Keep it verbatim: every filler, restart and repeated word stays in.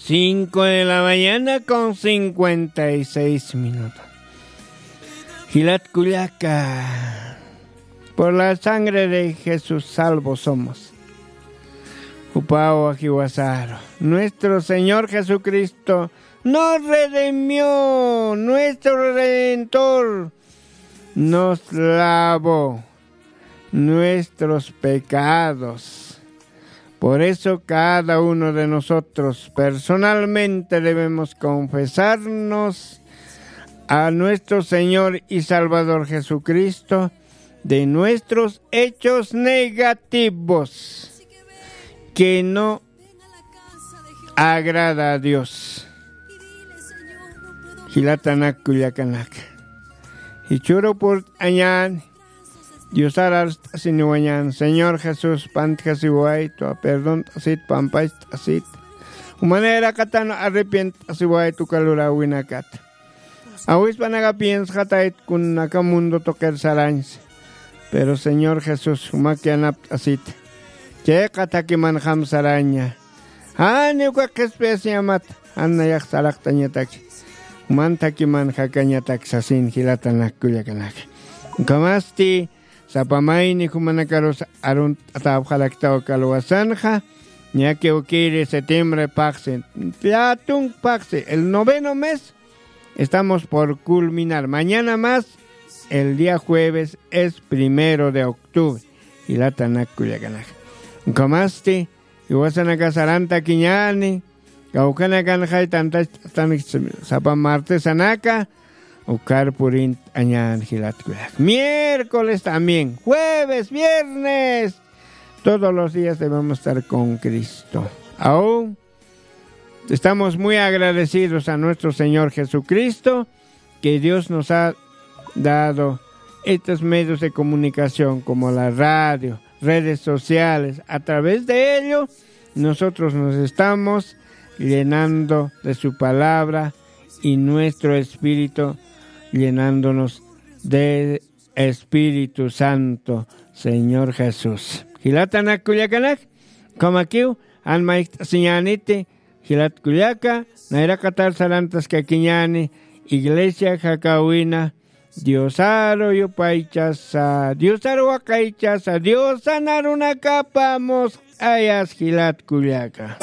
Cinco de la mañana con cincuenta y seis minutos. Jilat kullaka, por la sangre de Jesús salvos somos. Jupawa jiwasaru, nuestro Señor Jesucristo nos redimió, nuestro Redentor nos lavó nuestros pecados. Por eso cada uno de nosotros personalmente debemos confesarnos a nuestro Señor y Salvador Jesucristo de nuestros hechos negativos que no agrada a Dios. Jilatanak kullakanaka, jichhüru purt'añäni, Diosar arst'asiniwañäni, Señor Jesús, pantjasiwaytwa, perdont'asit, pampacht'asit. Jumanïrakatan arrepient'asiwaytwa uka luräwinakata. Awispanaka piensxatayt kunaka mundo tuqir sarañsa. Pero Señor Jesús, jumak yanapt'asita. Chayqa thakimanxam saraña. Jani uka qhispiyasiñamata, jan nayax saraqtañataki. Juman thakimanxakañatak sasin jilatanak kullakanaka. Ukhamasti, sapa mayni jumanakarus arunt'atäpxaraktaw kalwasanxa, ñakiw kiri septiembre phaxsi, llätunk phaxsi, el noveno mes, estamos por culminar. Mañana más, el día jueves es primero de octubre. Jilatanak kullakanaka. Ukhamasti, jiwasanaka sarantakiñäni, kawkhanakanxay tantachtanix sapa martesanaka, ukhar purint'añäni jilat kullaka. Miércoles también, jueves, viernes, todos los días debemos estar con Cristo. Aún estamos muy agradecidos a nuestro Señor Jesucristo, que Dios nos ha dado estos medios de comunicación como la radio, redes sociales. A través de ello, nosotros nos estamos llenando de su palabra y nuestro espíritu llenándonos de Espíritu Santo, Señor Jesús. Jilatanak kullakanak, ukhamakiw, jan mayjt'asiñäniti, jilat kullaka, nayraqatar sarantaskakiñäni, iglesia jakäwina, Diosaru yupaychasa, Diosaru waqaychasa, Diosan arunakapa musq'ayas jilat kullaka.